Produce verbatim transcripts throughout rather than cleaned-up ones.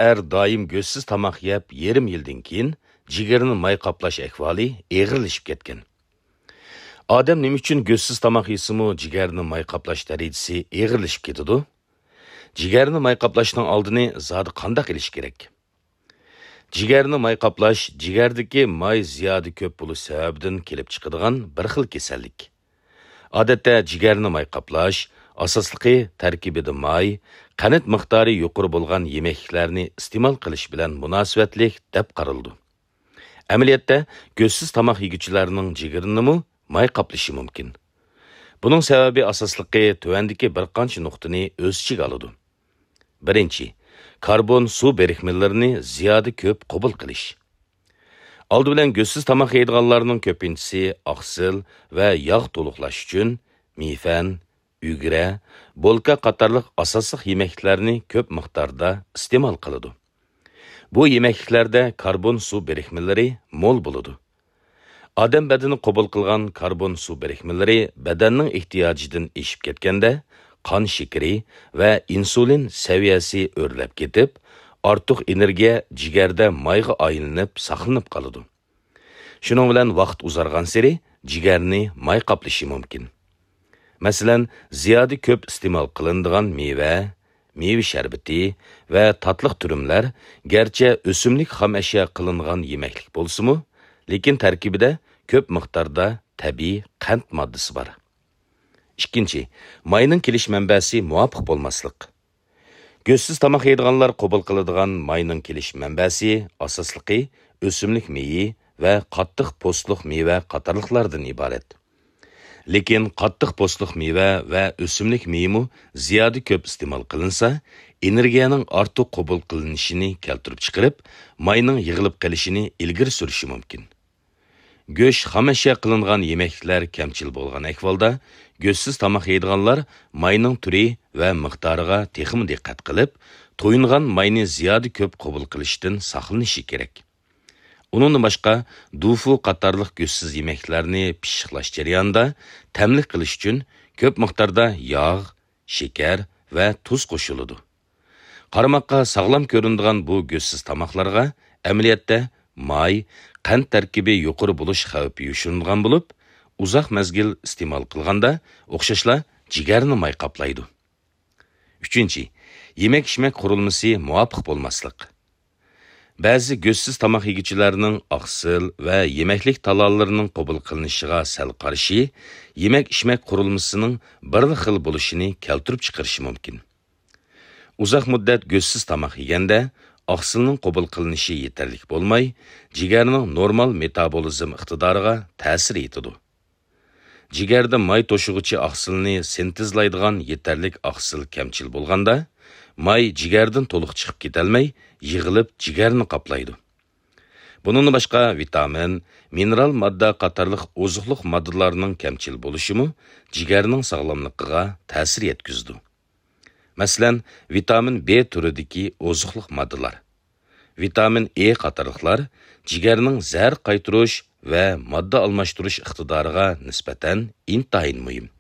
ئەر دائىم گۆشسىز تاماق يەپ يېرىم يىلدىن كېيىن جىگىرىنى ماي قاپلاش ئەھۋالى ئېغىرلىشىپ كەتكەن. ئادەم نېمە ئۈچۈن گۆشسىز تاماق يېسىمۇ جىگەرنى ماي قاپلاش دەرىجىسى ئېغىرلىشىپ كېتىدۇ؟ جىگەرنى ماي قاپلاشنىڭ ئالدىنى زادى قانداق ئېلىش كېرەك؟ جىگەرنى ماي قاپلاش جىگەردىكى ماي زىيادە كۆپ بولۇش سەۋەبىدىن كېلىپ چىقىدىغان بىر خىل كېسەللىك. ئادەتتە جىگەرنى ماي قاپلاش، ئاساسلىقى تەركىبىدە ماي، قەنت مىقدارى يۇقىرى بولغان يېمەكلىكلەرنى ئىستېمال قىلىش بىلەن مۇناسىۋەتلىك دەپ قارىلىدۇ. ئەمەلىيەتتە، گۆشسىز تاماق يېگۈچىلەرنىڭ جىگىرىنىمۇ ماي قاپلىشى مۇمكىن. بۇنىڭ سەۋەبى ئاساسلىقى تۆۋەندىكى بىر قانچە نۇقتىنى ئۆز ئىچىگە ئالىدۇ. بىرىنچى، كاربون سۇ بىرىكمىلىرىنى زىيادە كۆپ قوبۇل قىلىش. ئالدى بىلەن گۆشسىز تاماق يەيدىغانلارنىڭ كۆپىنچىسى ئاقسىل ۋە ياغ تولۇقلاش ئۈچۈن مىيفەن، ئۈگرە، بولكا قاتارلىق ئاساسلىق يېمەكلىكلەرنى كۆپ مىقداردا ئىستېمال قىلىدۇ. بۇ يېمەكلىكلەردە كاربون سۇ بىرىكمىلىرى مول بولىدۇ. ئادەم بەدىنى قوبۇل قىلغان كاربون سۇ بىرىكمىلىرى بەدەننىڭ ئېھتىياجىدىن ئېشىپ كەتكەندە، قان شېكىرى ۋە ئىنسۇلىن سەۋىيەسى ئۆرلەپ كېتىپ، ئارتۇق ئېنېرگىيە جىگەردە مايغا ئايلىنىپ ساقلىنىپ قالىدۇ. شۇنىڭ بىلەن ۋاقىت ئۇزارغانسېرى جىگەرنى ماي قاپلىشى مۇمكىن. مەسىلەن، زىيادە كۆپ ئىستېمال قىلىنىدىغان مېۋە، مېۋە شەربىتى ۋە تاتلىق تۈرۈملەر گەرچە ئۆسۈملۈك خام ئەشيا قىلىنغان يېمەكلىك بولسىمۇ، لېكىن تەركىبىدە كۆپ مىقداردا تەبىئىي قەنت ماددىسى بار. ئىككىنچى، ماينىڭ كېلىش مەنبەسى مۇۋاپىق بولماسلىق. گۆشسىز تاماق يەيدىغانلار قوبۇل قىلىدىغان ماينىڭ كېلىش مەنبەسى ئاساسلىقى ئۆسۈملۈك مېيى ۋە قاتتىق پوستلۇق مېۋە قاتارلىقلاردىن ئىبارەت. لېكىن قاتتىق پوستلۇق مېۋە ۋە ئۆسۈملۈك مېيىمۇ زىيادە كۆپ ئىستېمال قىلىنسا، ئېنېرگىيەنىڭ ئارتۇق قوبۇل قىلىنىشىنى كەلتۈرۈپ چىقىرىپ، ماينىڭ يىغىلىپ قېلىشىنى ئىلگىرى سۈرۈشى مۇمكىن. گۆش، خام ئەشيا قىلىنغان يېمەكلىكلەر كەمچىل بولغان ئەھۋالدا، گۆشسىز تاماق يەيدىغانلار ماينىڭ تۈرى ۋە مىقدارىغا تېخىمۇ دىققەت قىلىپ، تويۇنغان ماينى زىيادە كۆپ قوبۇل قىلىشتىن ساقلىنىشى كېرەك. ئۇنىڭدىن باشقا، دۇفۇ قاتارلىق گۆشسىز يېمەكلەرنى پىششىقلاش جەريانىدا تەملىك قىلىش ئۈچۈن كۆپ مىقداردا ياغ، شېكەر ۋە تۇز قوشۇلىدۇ. قارىماققا ساغلام كۆرۈنىدىغان بۇ گۆشسىز تاماقلارغا ئەمەلىيەتتە ماي، قەنت تەركىبى يۇقىرى بولۇش خەۋپى يوشۇرۇنغان بولۇپ، ئۇزاق مەزگىل ئىستېمال قىلغاندا ئوخشاشلا جىگەرنى ماي قاپلايدۇ. ئۈچىنچى، يېمەك-ئىچمەك قۇرۇلمىسى مۇۋاپىق بولماسلىق. بەزى گۆشسىز تاماق يېگۈچىلەرنىڭ ئاقسىل ۋە يېمەكلىك تالالىرىنىڭ قوبۇل قىلىنىشىغا سەل قارىشى يېمەك-ئىچمەك قۇرۇلمىسىنىڭ بىرلا خىل بولۇشىنى كەلتۈرۈپ چىقىرىشى مۇمكىن. ئۇزاق مۇددەت گۆشسىز تاماق يېگەندە، ئاقسىلنىڭ قوبۇل قىلىنىشى يېتەرلىك بولماي، جىگەرنىڭ نورمال مېتابولىزم ئىقتىدارىغا تەسىر يېتىدۇ. جىگەردە ماي توشۇغۇچى ئاقسىلنى سىنتېزلايدىغان يېتەرلىك ئاقسىل كەمچىل بولغاندا، ماي جىگەردىن تولۇق چىقىپ كېتەلمەي، يىغىلىپ جىگەرنى قاپلايدۇ. بۇنىڭدىن باشقا، ۋىتامىن، مىنېرال ماددا قاتارلىق ئوزۇقلۇق ماددىلارنىڭ كەمچىل بولۇشىمۇ جىگەرنىڭ ساغلاملىقىغا تەسىر يەتكۈزىدۇ. مەسىلەن، ۋىتامىن بې تۈرىدىكى ئوزۇقلۇق ماددىلار، ۋىتامىن ئې قاتارلىقلار جىگەرنىڭ زەھەر قايتۇرۇش ۋە ماددا ئالماشتۇرۇش ئىقتىدارىغا نىسبەتەن ئىنتايىن مۇھىم.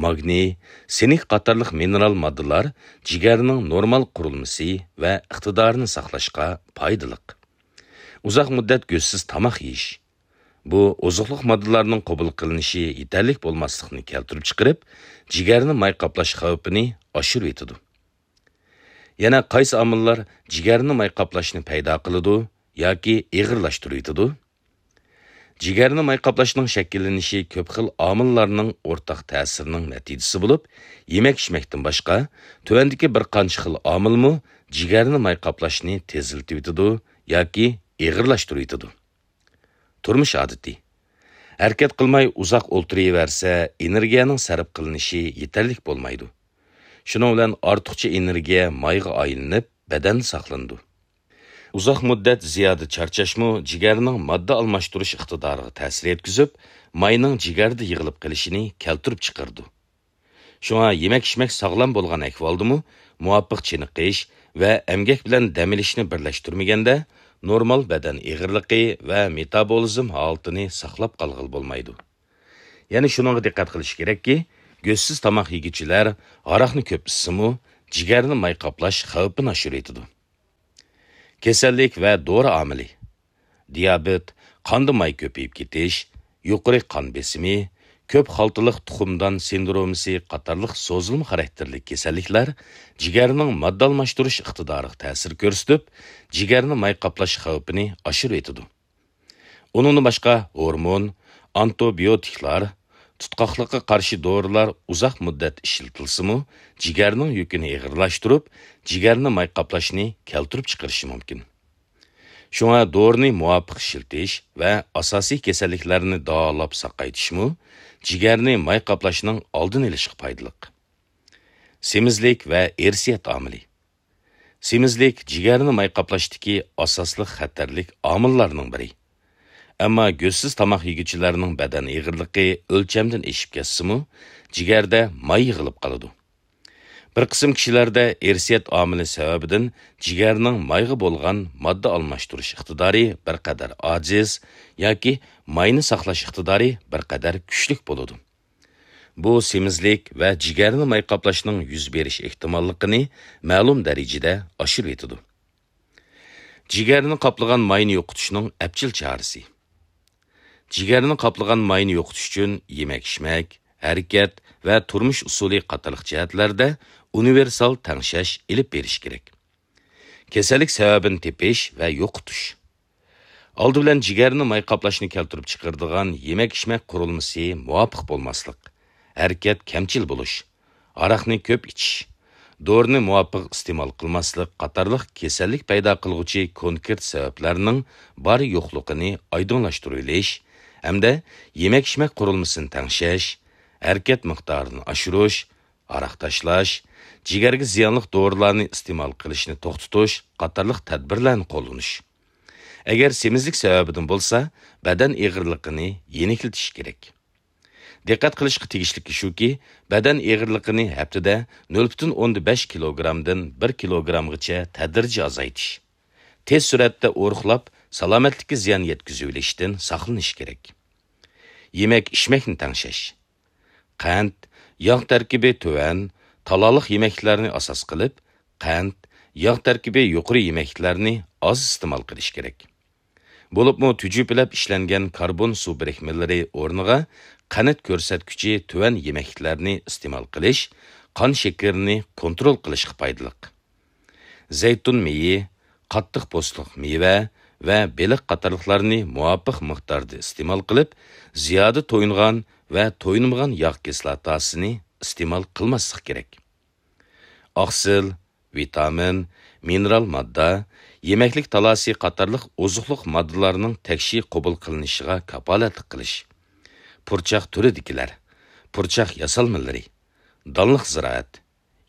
ماگنىي، سىنك قاتارلىق مىنېرال ماددىلار جىگەرنىڭ نورمال قۇرۇلمىسى ۋە ئىقتىدارىنى ساقلاشقا پايدىلىق. ئۇزاق مۇددەت گۆشسىز تاماق يېيىش، بۇ ئوزۇقلۇق ماددىلارنىڭ قوبۇل قىلىنىشى يېتەرلىك بولماسلىقنى كەلتۈرۈپ چىقىرىپ، جىگەرنى ماي قاپلاش خەۋپىنى ئاشۇرۇۋېتىدۇ. يەنە قايسى ئامىللار جىگەرنى ماي قاپلاشنى پەيدا قىلىدۇ ياكى ئېغىرلاشتۇرۇۋېتىدۇ؟ جىگەرنى ماي قاپلاشنىڭ شەكىللىنىشى كۆپ خىل ئامىللارنىڭ ئورتاق تەسىرىنىڭ نەتىجىسى بولۇپ، يېمەك-ئىچمەكتىن باشقا، تۆۋەندىكى بىر قانچە خىل ئامىلمۇ جىگەرنى ماي قاپلاشنى تېزلىتىۋېتىدۇ ياكى ئېغىرلاشتۇرۇۋېتىدۇ. تۇرمۇش ئادىتى. ھەرىكەت قىلماي ئۇزاق ئولتۇرۇۋەرسە، ئېنېرگىيەنىڭ سەرپ قىلىنىشى يېتەرلىك بولمايدۇ. شۇنىڭ بىلەن ئارتۇقچە ئېنېرگىيە مايغا ئايلىنىپ، بەدەندە ساقلىنىدۇ. ئۇزاق مۇددەت زىيادە چارچاشمۇ جىگەرنىڭ ماددا ئالماشتۇرۇش ئىقتىدارىغا تەسىر يەتكۈزۈپ، ماينىڭ جىگەردە يىغىلىپ قېلىشىنى كەلتۈرۈپ چىقىرىدۇ. شۇڭا يېمەك-ئىچمەك ساغلام بولغان ئەھۋالدىمۇ، مۇۋاپىق چېنىقىش ۋە ئەمگەك بىلەن دەم ئېلىشنى بىرلەشتۈرمىگەندە، نورمال بەدەن ئېغىرلىقى ۋە مېتابولىزم ھالىتىنى ساقلاپ قالغىلى بولمايدۇ. يەنە شۇنىڭغا دىققەت قىلىش كېرەككى، گۆشسىز تاماق يېگۈچىلەر ھاراقنى كۆپ ئىچسىمۇ، جىگەرنى ماي قاپلاش خەۋپىنى ئاشۇرۇۋېتىدۇ. كېسەللىك ۋە دورا ئامىلى. دىيابېت، قاندا ماي كۆپىيىپ كېتىش، يۇقىرى قان بېسىمى، كۆپ خالتىلىق تۇخۇمدان سىندرومىسى قاتارلىق سوزۇلما خاراكتېرلىك كېسەللىكلەر جىگەرنىڭ ماددا ئالماشتۇرۇش ئىقتىدارىغا تەسىر كۆرسىتىپ، جىگەرنى ماي قاپلاش خەۋپىنى ئاشۇرۇۋېتىدۇ. ئۇنىڭدىن باشقا ھورمون، ئانتىبىيوتىكلار، تۇتقاقلىققا قارشى دورىلار ئۇزاق مۇددەت ئىشلىتىلسىمۇ، جىگەرنىڭ يۈكىنى ئېغىرلاشتۇرۇپ، جىگەرنى ماي قاپلاشنى كەلتۈرۈپ چىقىرىشى مۇمكىن. شۇڭا دورىنى مۇۋاپىق ئىشلىتىش ۋە ئاساسىي كېسەللىكلەرنى داۋالاپ ساقايتىشمۇ جىگەرنى ماي قاپلاشنىڭ ئالدىنى ئېلىشقا پايدىلىق. سېمىزلىك ۋە ئىرسىيەت ئامىلى. سېمىزلىك جىگەرنى ماي قاپلاشتىكى ئاساسلىق خەتەرلىك ئامىللارنىڭ بىرى. ئەمما گۆشسىز تاماق يېگۈچىلەرنىڭ بەدەن ئېغىرلىقى ئۆلچەمدىن ئېشىپ كەتسىمۇ، جىگەردە ماي يىغىلىپ قالىدۇ. بىر قىسىم كىشىلەردە ئىرسىيەت ئامىلى سەۋەبىدىن جىگەرنىڭ مايغا بولغان ماددا ئالماشتۇرۇش ئىقتىدارى بىر قەدەر ئاجىز ياكى ماينى ساقلاش ئىقتىدارى بىر قەدەر كۈچلۈك بولىدۇ. بۇ سېمىزلىك ۋە جىگەرنى ماي قاپلاشنىڭ يۈز بېرىش ئېھتىماللىقىنى مەلۇم دەرىجىدە ئاشۇرۇۋېتىدۇ. جىگەرنى قاپلىغان ماينى يوقىتىشنىڭ ئەپچىل چارىسى. جىگەرنى قاپلىغان ماينى يوقىتىش ئۈچۈن يېمەك-ئىچمەك، ھەرىكەت ۋە تۇرمۇش ئۇسۇلى قاتارلىق جەھەتلەردە ئۇنىۋېرسال تەڭشەش ئېلىپ بېرىش كېرەك. كېسەللىك سەۋەبىنى تېپىش ۋە يوقىتىش. ئالدى بىلەن جىگەرنى ماي قاپلاشنى كەلتۈرۈپ چىقىرىدىغان يېمەك-ئىچمەك قۇرۇلمىسى مۇۋاپىق بولماسلىق، ھەرىكەت كەمچىل بولۇش، ئاراقنى كۆپ ئىچىش، دورىنى مۇۋاپىق ئىستېمال قىلماسلىق قاتارلىق كېسەللىك پەيدا قىلغۇچى كونكرېت سەۋەبلەرنىڭ بار-يوقلۇقىنى ئايدىڭلاشتۇرۇۋېلىش ھەمدە يېمەك-ئىچمەك قۇرۇلمىسىنى تەڭشەش، ھەرىكەت مىقدارىنى ئاشۇرۇش، ھاراق تاشلاش، جىگەرگە زىيانلىق دورىلارنى ئىستېمال قىلىشنى توختىتىش قاتارلىق تەدبىرلەرنى قوللىنىش. ئەگەر سېمىزلىك سەۋەبىدىن بولسا، بەدەن ئېغىرلىقىنى يېنىكلىتىش كېرەك. دىققەت قىلىشقا تېگىشلىكى شۇكى، بەدەن ئېغىرلىقىنى ھەپتىدە نۆل پۈتۈن ئوندىن بەش كىلوگرامدىن بىر كىلوگرامغىچە تەدرىجىي ئازايتىش. تېز سۈرئەتتە ئورۇقلاپ، سالامەتلىككە زىيان يەتكۈزۈۋېلىشتىن ساقلىنىش كېرەك. يېمەك-ئىچمەكنى تەڭشەش. قەنت، ياغ تەركىبى تۆۋەن، تالالىق يېمەكلىكلەرنى ئاساس قىلىپ، قەنت، ياغ تەركىبى يۇقىرى يېمەكلىكلەرنى ئاز ئىستېمال قىلىش كېرەك. بولۇپمۇ تۈجۈپىلەپ ئىشلەنگەن كاربون سۇ بىرىكمىلىرى ئورنىغا قەنت كۆرسەتكۈچى تۆۋەن يېمەكلىكلەرنى ئىستېمال قىلىش قان شېكىرىنى كونترول قىلىشقا پايدىلىق. زەيتۇن مېيى، قاتتىق پوستلۇق مېۋە ۋە بېلىق قاتارلىقلارنى مۇۋاپىق مىقداردا ئىستېمال قىلىپ، زىيادە تويۇنغان ۋە تويۇنمىغان ياغ كىسلاتاسىنى ئىستېمال قىلماسلىق كېرەك. ئاقسىل، ۋىتامىن، مىنېرال ماددا، يېمەكلىك تالاسى قاتارلىق ئوزۇقلۇق ماددىلارنىڭ تەكشى قوبۇل قىلىنىشىغا كاپالەتلىك قىلىش. پۇرچاق تۈرىدىكىلەر، پۇرچاق ياسالمىلىرى، دانلىق زىرائەت،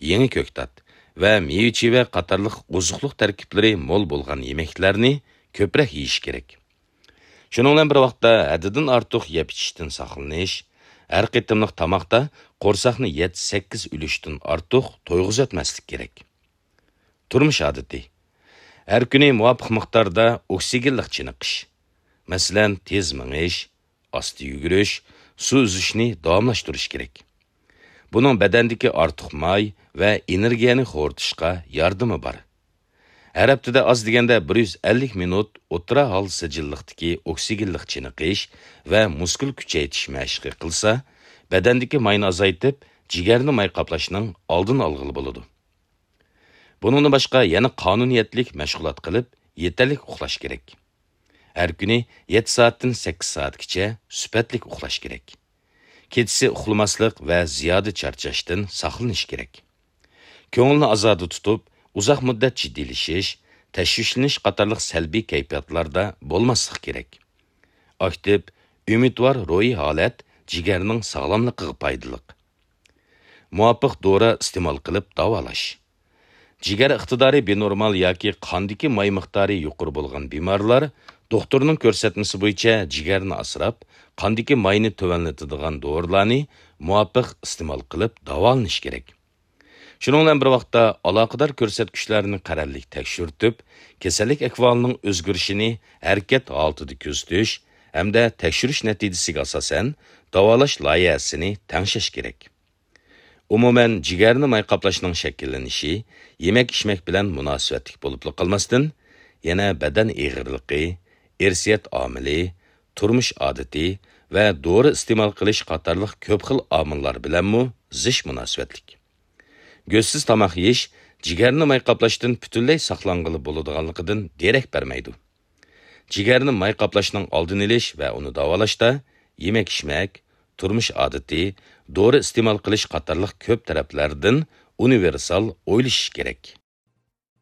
يېڭى كۆكتات ۋە مېۋە-چىۋە قاتارلىق ئوزۇقلۇق تەركىبلىرى مول بولغان يېمەكلەرنى كۆپرەك يېيىش كېرەك. شۇنىڭ بىلەن بىر ۋاقىتتا، ھەددىدىن ئارتۇق يەپ ئىچىشتىن ساقلىنىش، ھەر قېتىملىق تاماقتا قورساقنى يەتتە-سەككىز ئۈلۈشتىن ئارتۇق تويغۇزۇۋەتمەسلىك كېرەك. تۇرمۇش ئادىتى. ھەر كۈنى مۇۋاپىق مىقداردا ئوكسىگېنلىق چېنىقىش. مەسىلەن، تېز مېڭىش، ئاستا يۈگۈرۈش، سۇ ئۈزۈشنى داۋاملاشتۇرۇش كېرەك. بۇنىڭ بەدەندىكى ئارتۇق ماي ۋە ئېنېرگىيەنى خورىتىشقا ياردىمى بار. ھەر ھەپتىدە ئاز دېگەندە بىر يۈز ئەللىك مىنۇت ئوتتۇرا ھال سىجىللىقتىكى ئوكسىگېنلىق چېنىقىش ۋە مۇسكۇل كۈچەيتىش مەشقى قىلسا، بەدەندىكى ماينى ئازايتىپ، جىگەرنى ماي قاپلاشنىڭ ئالدىنى ئالغىلى بولىدۇ. بۇنىڭدىن باشقا يەنە قانۇنىيەتلىك مەشغۇلات قىلىپ، يېتەرلىك ئۇخلاش كېرەك. ھەر كۈنى يەتتە سائەتتىن سەككىز سائەتكىچە سۈپەتلىك ئۇخلاش كېرەك. كېچىسى ئۇخلىماسلىق ۋە زىيادە چارچاشتىن ساقلىنىش كېرەك. كۆڭۈلنى ئازادە تۇتۇپ، ئۇزاق مۇددەت جىددىيلىشىش، تەشۋىشلىنىش قاتارلىق سەلبىي كەيپىياتلاردا بولماسلىق كېرەك. ئاكتىپ، ئۈمىدۋار روھىي ھالەت جىگەرنىڭ ساغلاملىقىغا پايدىلىق. مۇۋاپىق دورا ئىستېمال قىلىپ داۋالاش. جىگەر ئىقتىدارى بىنورمال ياكى قاندىكى ماي مىقدارى يۇقىرى بولغان بىمارلار دوختۇرنىڭ كۆرسەتمىسى بويىچە جىگەرنى ئاسراپ، قاندىكى ماينى تۆۋەنلىتىدىغان دورىلارنى مۇۋاپىق ئىستېمال قىلىپ داۋالىنىش كېرەك. شۇنىڭ بىلەن بىر ۋاقىتتا، ئالاقىدار كۆرسەتكۈچلەرنى قەرەللىك تەكشۈرتۈپ، كېسەللىك ئەھۋالىنىڭ ئۆزگىرىشىنى ھەرىكەت ھالىتىدە كۆزىتىش ھەمدە تەكشۈرۈش نەتىجىسىگە ئاساسەن، داۋالاش لايىھەسىنى تەڭشەش كېرەك. ئومۇمەن، جىگەرنى ماي قاپلاشنىڭ شەكىللىنىشى يېمەك-ئىچمەك بىلەن مۇناسىۋەتلىك بولۇپلا قالماستىن، يەنە بەدەن ئېغىرلىقى، ئىرسىيەت ئامىلى، تۇرمۇش ئادىتى ۋە دورا ئىستېمال قىلىش قاتارلىق كۆپ خىل ئامىللار بىلەنمۇ زىچ مۇناسىۋەتلىك. گۆشسىز تاماق يېيىش جىگەرنى ماي قاپلاشتىن پۈتۈنلەي ساقلانغىلى بولىدىغانلىقىدىن دېرەك بەرمەيدۇ. جىگەرنى ماي قاپلاشنىڭ ئالدىنى ئېلىش ۋە ئۇنى داۋالاشتا يېمەك-ئىچمەك، تۇرمۇش ئادىتى، دورا ئىستېمال قىلىش قاتارلىق كۆپ تەرەپلەردىن ئۇنىۋېرسال ئويلىشىش كېرەك.